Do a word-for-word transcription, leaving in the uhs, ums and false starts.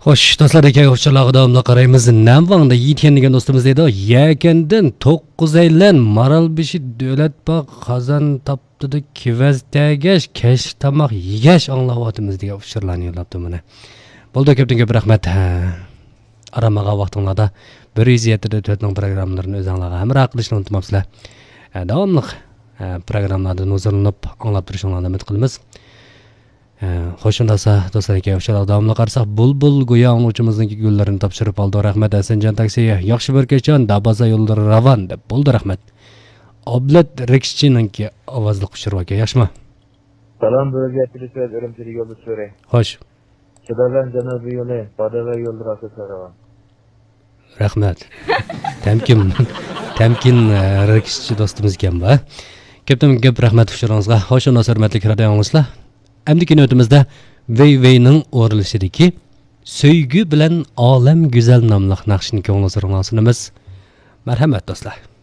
خوش، دوستلار، ئۇچۇرلارغا داۋاملىق قارايمىز. نەنۋاڭدا يىتيەن دېگەن دوستىمىز دەيدۇ، يەكەندىن توققۇز ئەيلەن، مارالبېشى دۆلەت باغ، قازان تاپتىدا كېۋەز تەگەش، كەچلىك تاماق يېگەچ ئاڭلاۋاتىمىز دېگەن ئۇچۇرلارنى يوللاپتۇ مانا. بولدى، كۆپتىن كۆپ رەھمەت. ھە. ئارام ئالغان ۋاقتىڭلاردا بىر يۈز يەتتە دە تۆتنىڭ پروگراممىلىرىنى ئۆزۈڭلارغا ھەمراھ قىلىشنى ئۇنتۇماپسىلەر. ھە، داۋاملىق، ھە، پروگراممىلاردىن ھۇزۇرلىنىپ ئاڭلاپ تۇرۇشۇڭلارنى ئۈمىد قىلىمىز. ئە، خوش، ئۇنداقسا، دوستلار، ئىكەن، ئۇچۇرلارغا داۋاملىق قارىساق، بۇلبۇل گويا ئاڭلىغۇچىمىزنىڭكى گۈللىرىنى تاپشۇرۇپ ئالدى. رەھمەت، ھەسەنجان تاكسى، ياخشى بىر كەچ، دابازا يوللىرى راۋان، دەپ بولدى، رەھمەت. ئابلەت رېكسچىنىڭكى ئاۋازلىق ئۇچۇرى باركەن، ياخشىمۇ؟ سالام، بىر يۈز يەتتە ئۈرۈمچىدىكى يولدىشى. خوش. شىداۋەن جەنۇبىي يولى، باداۋەن يوللىرى ئاساسلىرىغا. رەھمەت. تەمكىن، تەمكىن، ئە، رېكسچى دوستىمىز ئىكەن بۇ. كۆپتىن كۆپ رەھمەت ئۇچۇرىڭىزغا. خوش، ئۇنداقسا ھۆرمەتلىك رادىئو ئاڭلىغۇچىلار. ئەمدىكى نۆۋىتىمىزدە ۋەي ۋەينىڭ ئورۇنلىشىدىكى سۆيگۈ بىلەن ئالەم گۈزەل ناملىق ناخشىنى كۆڭۈل ھۇزۇرۇڭلارغا سۇنىمىز. مەرھەمەت، دوستلار.